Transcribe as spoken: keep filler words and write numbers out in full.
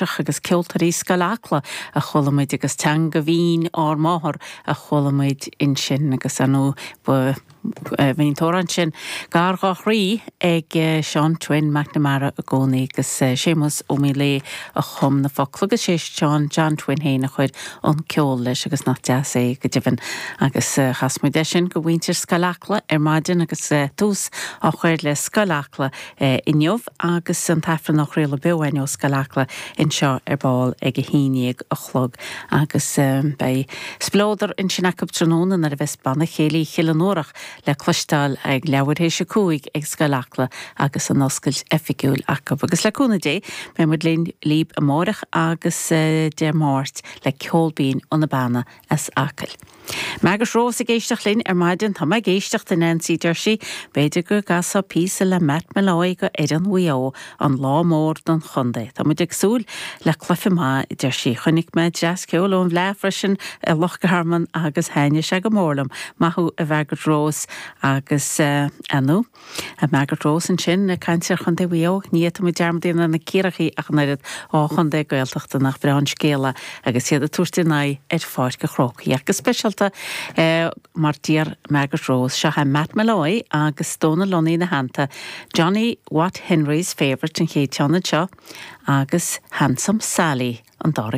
Agus ceoltóirí Scoil Acla a chuala muid agus teanga bhinn ár máthar a chuala muid ansin agus anú bhí an t-amhrán sin gar dá chroí ag Seán Twin McNamara i gcónaí agus Séamus Ó Míléadh a chum na focla agus sé Seán John Twin féin a chuir an ceol leis agus nach deas é go deimhin agus chas muid é sin do mhuintir Scoil Acla ar maidin agus tús á chur le Scoil Acla inniu agus an t-aifreann á chraoladh beo ó Scoil Acla anseo ar ball ag a haon déag a chlog agus beidh spleodar ansin acu tráthnóna nuair a bheas banna céilí Chill na nÓrach le cloisteáil ag leathuair théis a cúig ag Scoil Acla agus an oscailt oifigiúil acu. agus le cúnamh Dé beidh muid linn libh amárach agus Dé Máirt le ceol binn ó na bannaí as Acaill. Margaret Rose ag éisteacht linn ar maidin tá ag éisteacht in Nancy Jersey, B'fhéidir go gcasfá píosa le Matt Molloy go fhoireann Mhaigh Eo an lá mór don chontae. Tá muid ag súil le cluiche maith Jersey. Chonaic mé dreas ceol ón bhFleadh freisin i Loch Garman agus thaitnigh sé go mór liom. Maith thú a Margaret Rose agus uh, anú. A Margaret Rose ansin caint ar chontae Mhaigh Eo ní tá dearmad na Ciarraígh ach an oiread ó chontae Gaeltachta nach breá an scéal é agus iad ag tabhairt a n-aghaidh ar Pháirc an Chrócaigh agus speisialta eh, mar d'iarr Margaret Rose seo é Matt Molloy agus Dónal Lunny ina theannta Johnny Watt Henry's favourite an chéad cheann seo agus Handsome Sally an dara.